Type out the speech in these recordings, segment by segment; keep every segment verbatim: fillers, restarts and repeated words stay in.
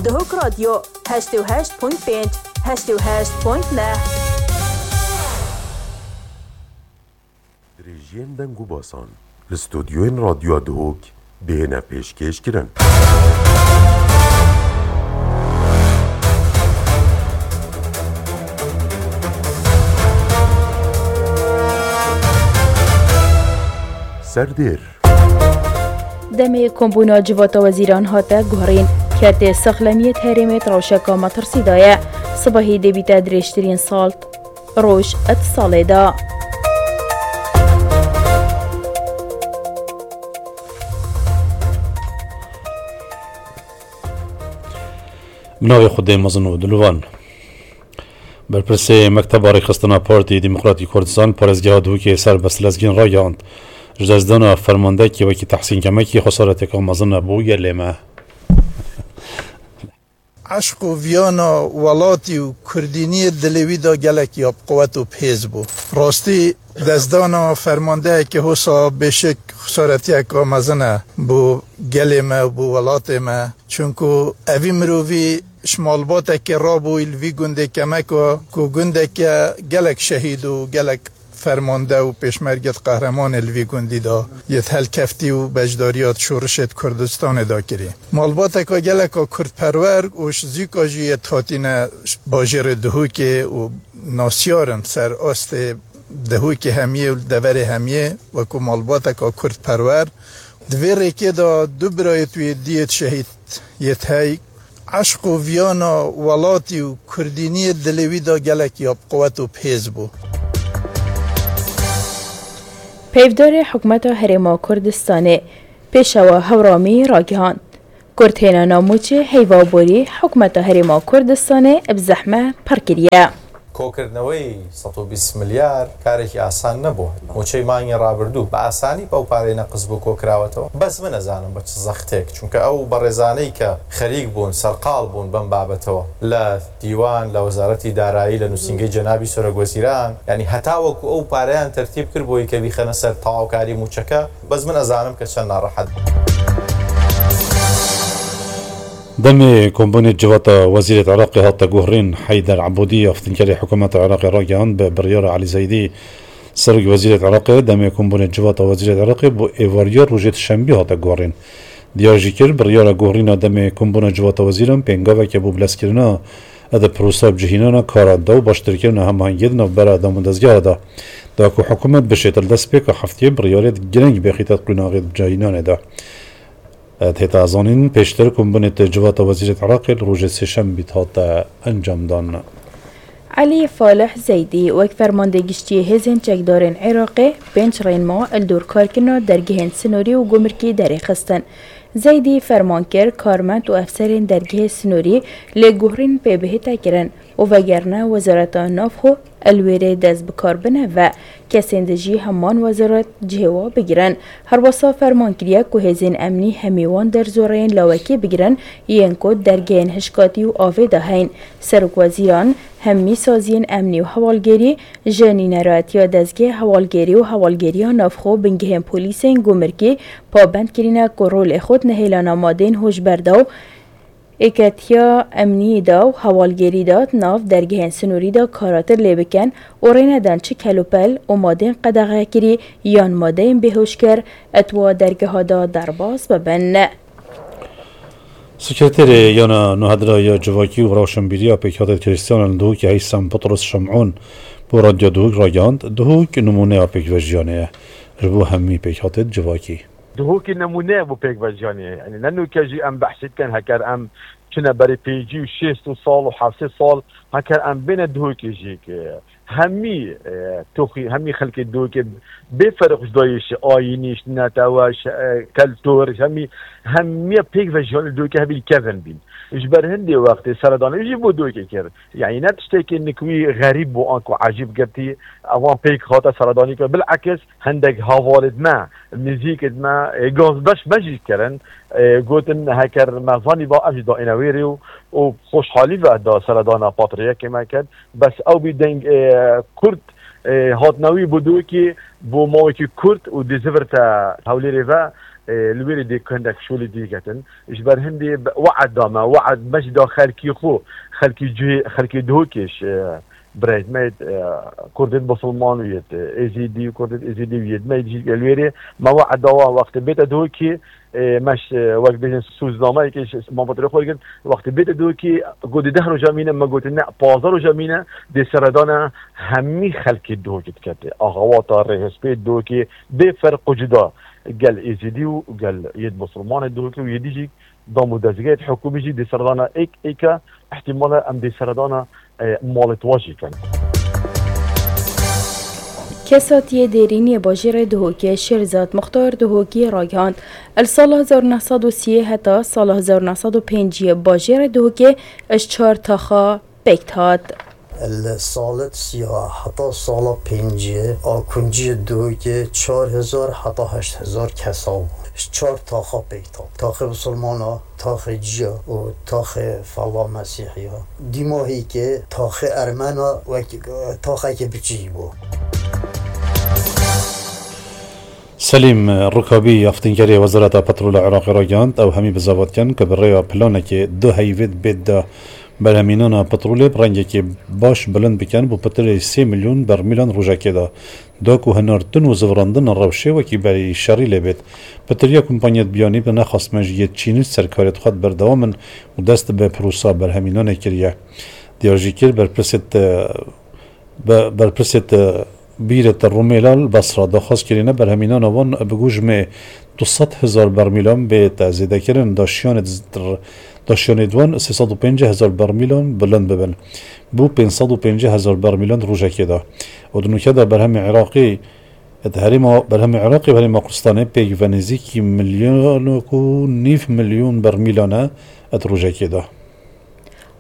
Dihok Radyo, heştê û heşt point pênc, heştê û heşt point neh. Dirêjiyên deng û basan li stûdyoyên Radyoya Dihok dihêne pêşkêşkirin. Serdêr. Demê kombûna civata wezîran hate guherîn, kertê saxlemiyê di herêmê di rewşeka metirsî de ye. Sibehî dê bîte dirêjtirîn sal roj di salê de. Bi navê Xwedê mezin û dilovan. Berpirsê Mekteba Rêxistina Partî Demokratî Kurdistan parêzgeha Duhokê Serbest Lezgîn ragihand, ji destdana fermandeyekî wekî Tehsîn Kemekî xesareteka mezin e bo gelê me. Eşq û viyana welatî û kurdîniyê dilê wî de gelek ya bi quwet û bi hêz bû. Rastî, destdana fermandeyekî hosa bêşik xesaretiyeka mezin e bo gelê me û bo welatê me. Çunku evî mirovî ji malbateke rabûyî li vî gundê Kemeko, ku gundeke gelek şehîd û gelek fermande û pêşmerget qehremanê li vî gundî de yê di helkeftî û beşdariya di şorişê di Kurdistanê de kirî. Malbateka geleka kurdperwer û ji zîka jî yê di hatîne bajêrê Dihokê û nasiyar in ser astê Dihokê hemiyê û li deverê hemiyê wekû malbateka kurdperwer. Di vê rêkê de du birayê wî diyê şehîd yê hey, eşq û viyana welatî û kurdîniyê dilê wî de gelek ya bi quwet û bi hêz bû. Peyvdarê Hikûmeta Herêma Kurdistanê, Pêşewa Hewramî ragihand, Kurd hêna namûçê heyva borî Hikûmeta Herêma Kurdistanê bi zehme pir kiriye. کۆکردنەوەی سەد و بیست ملیار کارێکی ئاسان نەبوو. موچەی مانگی ڕابردوو بە ئاسانی بەو پارەی نەقز بوو کۆکراوەتەوە. بەس من ئەزانم بە چ زەختێک، چونکە ئەو بەڕێزانەی کە خەریک بوون، سەرقاڵ بوون بەم بابەتەوە، لە دیوان، لە وەزارەتی دارایی، لە نووسینگەی جەنابی سەرۆک وەزیران، یعنی هەتا وەکو ئەو پارەیان تەرتیب کرد بۆی کە بیخەنە سەر تەواوکاری موچەکە، بەس من ئەزانم کە چەند ناڕەحەت بوون. Demê kombûnê civata wezîrê Iraqê hate guherîn, Heyder Ebûdî, aftinkerê hikûmeta Iraqê ragihand, bi biryara Elî Zeydî, serok wezîrê Iraqê, demê kombûnê civata wezîrê Iraqê bo êvariya rojê Duşembî hate guherîn. Diyar jî kir, biryara guherîna demê kombûna civata wezîran pêngaveke bo bilezkirina di prosa bicihînana kara de û baştirkirina hemahengiyê di navbera dam û dezgeha de da ku hikûmet bişêt li destpêka heftiyê biryarê gireng bêxîte di qonaxê bicihînanê de. Têta zanîn, pêştir kombûnê di civata wezîrê Iraqê li rojê sêşembî hate encamdan. Elî Falih Zeydî, wek fermandê giştî yê hêzên çekdarên Iraqê, pênc rênma li dor karkirina dergehên sinorî û gumrikî derêxistin. Zeydî ferman kir, karmend û efserên dergehê sinorî lêguherîn pê bihête kirin û vegerine Wezareta Navxwe li wêrê dest bi kar bine ve. Kesên di jî heman wezaret cihê wa bigirin. Herwesa ferman kiriye ku hêzên emnî hemî wan derzoreyên lawekî bigirin, yên ku dergehên hişkatî û avê de heyn. Serokwezîran hemî saziyên emnî û hewalgerî ji nîneratiya dezgehê hewalgerî û hewalgeriya navxwe û bingehên polîsên gumrikî pabend kirîne ku rolê xwe di nehêlana madeyên hişberda û êketiya emniyê de û hewalgerî de di nav dergehên sinorî de karatir lê bikin û rê nedin çi kelûpel û madeyên qedexekirî yan madeyên bêhoşkir di wa dergeha de derbas bibin. Sekreterê Yana Nûhedra ya Civakî û Rewşenbîriya Pêkhatê Krîstiyanan li Duhokê Heysem Petros Şem'ûn bo Radyo Duhok ragihand, Duhok nimûneya pêkvejiyanê ye ji bo hemî pêkhatê civakî. Duhokê nemûne ye bo pêkvejiyanê. Yanî ne nûke jî em behsê dikin, heker em çine berê pêncî û şêst û sal û hevsê sal, heker em bêne Duhokê jî, e, hemî, e, toxî, hemî xelkê Duhokê bê ferq ji dayê ji ayînî, ji netewe, ji, e, keltûr, ji hemî, hemiya pêkvejiyanê Duhokê hebî li kevin bîn. Ji ber hindê wextê seredanê jî bo Duhokê kir. Yanî ne tiştekî nikwî xerîb bû anku ecîb girtî, ewan pêk hate seredanî kir. Bilekis hindek hevalêt me, nêzîkêt me, ê, gazbeş me jî kirin, ê, gotin heker me zanîba em jî dayîne wê rê û, û xweşhalî ve da seredana patriyekê me kir. Bes ew bî deng, ê, kurt, ê, hatine wî bo Duhokê, bo mawekî kurt û dê zivirte Hewlêrê ve, e, li wê rê dê hindek şolê dî ketin. Ji ber hindê be-, we'd da me, we'd me jî da xelkî xwe, xelkî cihê, xelkê Duhokê ji, e, birayêt me yê, e, Kurdên Musulman û yê, e, Êzîdî û Kurdên Êzîdî û yê me yê jî li wê rê me we'd da wan wextê bête Duhokê, e, me ji, e, wek bêjin sûznameyekê ji malbatê xwe girin. Wextê bête Duhokê, got dê deh roja mîne, me gotin ne, pazdeh roja mîne, dê seredana hemî xelkê Duhokê dikete. Axawata rêhespê Duhokê bê ferq û cuda gel Êzîdî û gel yêd Musulmanê Duhokê û yêdî jî dam û dezgehê hikûmî jî dê seredana êk êka, ihtimala em dê seredana, e, malê tuwa jî kin. Kesatiyê Dêrîniyê Bajêrê Duhokê Şêrzad Muxtar Duhokî ragihand, li sala hezar neh sed û sî heta sala hezar neh sed û pêncî bajêrê Duhokê ji çar taxa pêk dihat. Li salet siya heta sala pêncê a kunciyê Duhokê çar hezar heta heşt hezar kesa bû. Ji çar taxa pêk dihat. Taxê Musulmana, taxê Ciya û taxê Fella Mesîhiya. Dîmahîkê taxê Ermena wek taxekê biçî bû. Selîm Rukabî, aftinkerê Wezareta Petrolê Iraqê ragihand, ew hemî bi zevat dikin ku bi rêya planekê du heyvêd bêt de berhemînana petrolê bi rengekê baş bilind bikin, bo pitirê sê milyon bermîlan rojekê de. Da ku hinartin û zivirandina rewşê wekî berî şerî lê bêt. Pitiriya kompanyêt biyanî bi nexwest me ji yê Çînî ser karêt xwe berdewam in û dest bi prosa berhemînanê kiriye. Diyar jî kir, berpirsêt, e, be-, berpirsêt, e, bîrêt Rûmêla li Besra daxwaz kirîne berhemînana wan bi gujmê du sed hezar bermîlan bête zêdekirin, daşiyanê d-, daşiyanê di wan sê sed û pêncî hezar bermîlan bilind bibin. Bo pênc sed û pêncî hezar bermîlan di rojekê de. Û di nûke de berhemê Iraqê, di herêma, berhemê Iraqê û herêma Kurdistanê pêk ve nêzîkî milyonek û nîv milyon bermîlan e di rojekê de.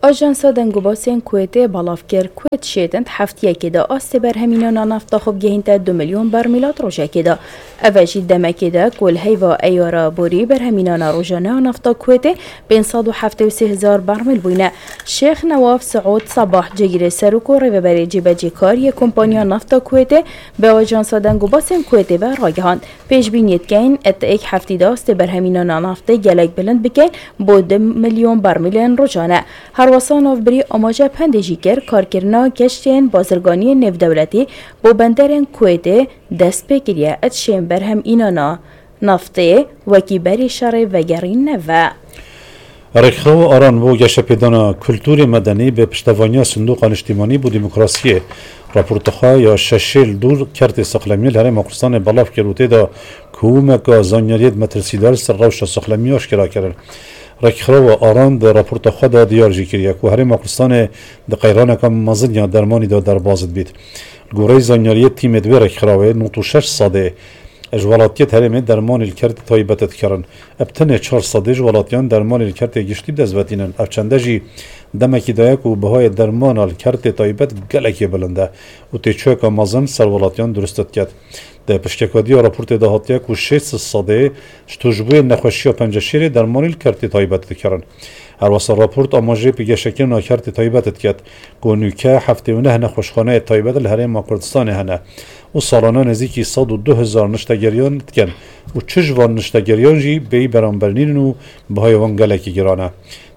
Ajansa Dengûbasên Kuwêtê belav kir, Kuwêt şêtin di heftiyekê de astê berhemînana nefta xwe bigehînte du milyon bermîla di rojekê de. Ev e jî demekê de ku li heyva eyara borî berhemînana rojane a nefta Kuwêtê pênc sed û heftê û sê hezar bermîl bûyne. Şêx Newaf Siûd Sebah, cêgirê serok û rêveberê cîbecîkar yê Kompanya Nefta Kuwêtê, bi Ajansa Dengûbasên Kuwêtê ve ragihand, pêşbîniyê dikeyin, di êk heftî de astê berhemînana neftê gelek bilind bikeyin bo du milyon bermîlên rojane. Herwesa navbirî amaje bi hindê jî kir, karkirina keştiyên bazirganiyên nêvdewletî bo benderên Kuwêtê dest pê kiriye, di şên berhemînana neftê wekî berî şerê vegerîn neve. Rêkxirawa Aran bo geşepêdana kulturê medenî bi piştevaniya Sindoqa Niştimanî bo Demokrasiyê raporta xwe ya şeşê li dor kertê sexlemiyê li Herêma Kurdistanê belav kir û tê de komeka zanyariyêt metirsîdar li ser rewşa sexlemiyê aşkera kirin. Rêkxirawa Aran di raporta xwe de diyar jî kiriye ku Herêma Kurdistanê di qeyraneka mezin ya dermanî de derbas dibît. Li goreyê zanyariyê tîmê di wê rêkxirawê nod û şeş sedê ji welatiyêt herêmê dermanê li kertê taybet dikirin. Ev tenê çar sedê ji welatiyan dermanê li kertê giştî bi dest vetînin. Ev çende jî demekî daye ku bihayê dermana li kertê taybet gelekê bilind e û têçûyeka mezin ser welatiyan dirust diket. Di piştgekadiya raportê de hatiye ku şêst sedê ji tûşbûyên nexweşiya penceşêrê dermanê li kertê taybet dikirin. Herwesa raport amajê pêgeşekirina kertê taybet diket ku nûke heftê û neh nexweşxaneyê taybet li Herêma Kurdistanê hene û salane nêzîkî sed û du hezar niştegeriyan dikin û çi ji van niştegeriyan jî bêyî beramber nînin û bihayê wan gelekî giran e.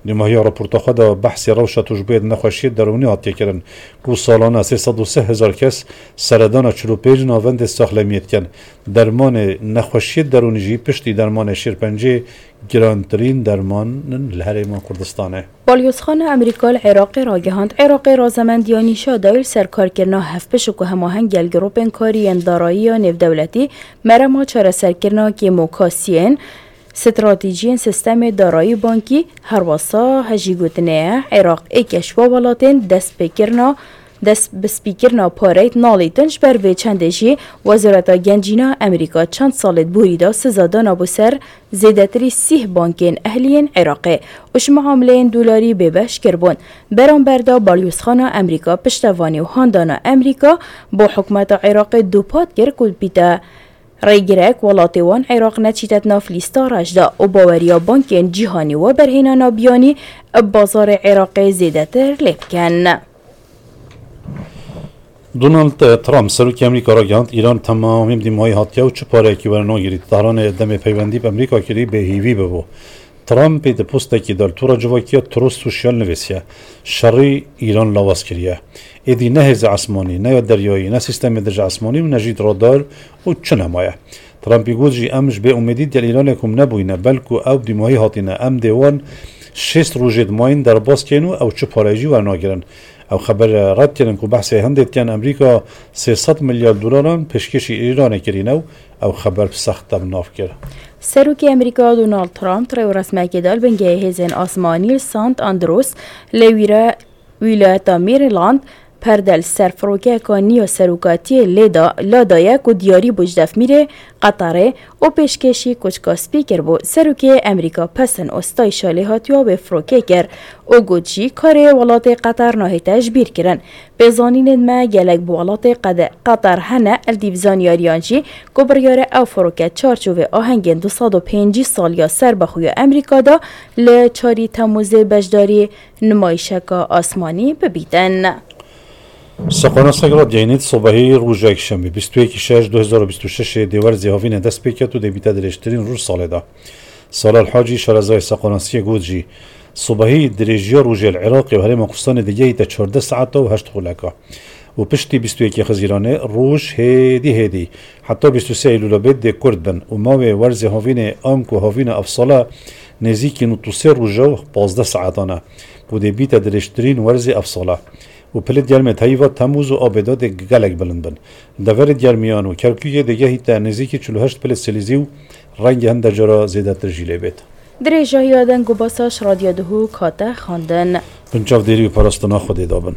Dûmahiya raporta xwe de behsê rewşa tûşbûyê di nexweşiyê derûnî hatiye kirin ku salane sê sed û sê hezar kes seredana çil û pênc navendê saxlemiyê dikin. Dermanê nexweşiyê derûnî jî piştî dermanê şêrpencê girantirîn derman in li Herêma Kurdistanê. Balyozxana Amerîka li Iraqê ragihand, Iraqê razemendiya nîşa dayî li ser karkirina hevpişik û hemaheng gel grûpên karî yên darayî ya nêvdewletî merema çareserkirina kêmokasiyên stratejiyên sistemê darayî bankî, herwasa hejîgotinê ye, Iraq êk e ji wan welatên dest pê kirina, dest bi spîkirina pareyê nalîtin. Ji ber vê çendê jî Wezareta Gencîna Amerîka çend salê di borî de siza dana bo ser zêdetirî sîh bankên ehlî yên Iraqê û ji miamileyên dolarî bêbeş kiribûn. Beramber de Balyozxana Amerîka piştevanî û handana Amerîka bo hikûmeta Iraqê dûpat kir ku bîte rêgirek welatê wan Iraq neçîte di nav lîsta reş de û baweriya bankên cîhanî weberhênana biyanî bi bazarê Iraqê zêdetir lê bikin. Donald Trump, serokê Amerîka ragihand, Îran temamî bi dîmahî hatiye û çi pareyekî were nagirît. Tehranê demê peywendî bi Amerîka kirî bêhîvî bibû. Trumpê di postekî de li tora civakiya Truth Social nivîsiye, şerî Îran lawaz kiriye. Êdî ne hêzê esmanî, ne ya deryayî, ne sîstemê dijî esmanî û ne jî radar û çi nemaye. Trumpî got jî, em ji bê umêdî digel Îranê kom nebûyne, belku ew bi dîmahî hatîne. Em dê wan şêst rojê dimayîn derbas kên û ew çi pareyê jî wernagirin. Ew xeber red kirin ku behsê hindê dikin Amerîka sê sed milyar dolaran pêşkêşî Îranê kirîne û ew xeber bi sext te bi nav kir. Serokê Amerîka Donald Trump rêwresmekê da li bingehê hêzên asmanî li Sant Andrews li wîre wîlayeta Maryland perde li ser firokeyeka nî ya serokatiyê lê da, la daye ku diyarî bû ji def mîrê Qeterê û pêşkêşî koçka spî kiribû. Serokê Amerîka pesin û stayîşa lêhatiya wê firokê kir û got jî karê welatê Qeter nahête ji bîr kirin. Pêzanînên me gelek bi welatê Qede-, Qeter hene, li dîv zanyariyan jî ku biryare ew firoke çarçovê ahengên du sed û pêncî saliya serbexwe ya Amerîka da li çarî Temûzê beşdarî nimayişeka asmanî bibîtin. Seqona Segrat Geynî di sobehî roja Yekşemê bîst û yekî şeş du hezar û bîst û şeş dê werzê havînê dest pê ket û dê bîte dirêjtirîn roj salê de. Salal Hacî, şarezayê Seqonasiyê got jî, sobehî dirêjiya rojê li Iraqê û Herêma Kurdistanê digehîte çardeh saeta û heşt xuleka. Û piştî bîst û yekê Xizîranê roj hêdî hêdî heta bîst û sê Eylûla bê dê kurt bin û mawê werzê havînê anku havîna evsala nêzîkî nod û sê roja û pazdeh saetan e û dê bîte dirêjtirîn werzê evsala. Û pilê germê teyva Temûz û Abêda dê gelek bilind bin. Deverê germiyan û Kerkûkê dê gehîte nêzîkî çil û heşt pilê Selîzî û rengê hinde cara zêdetir jî lê bêt. Dirêjahiya deng û basa ji Radyo Duhok hate xwendin. Bin çavdêrî û parastina Xwedê dabin.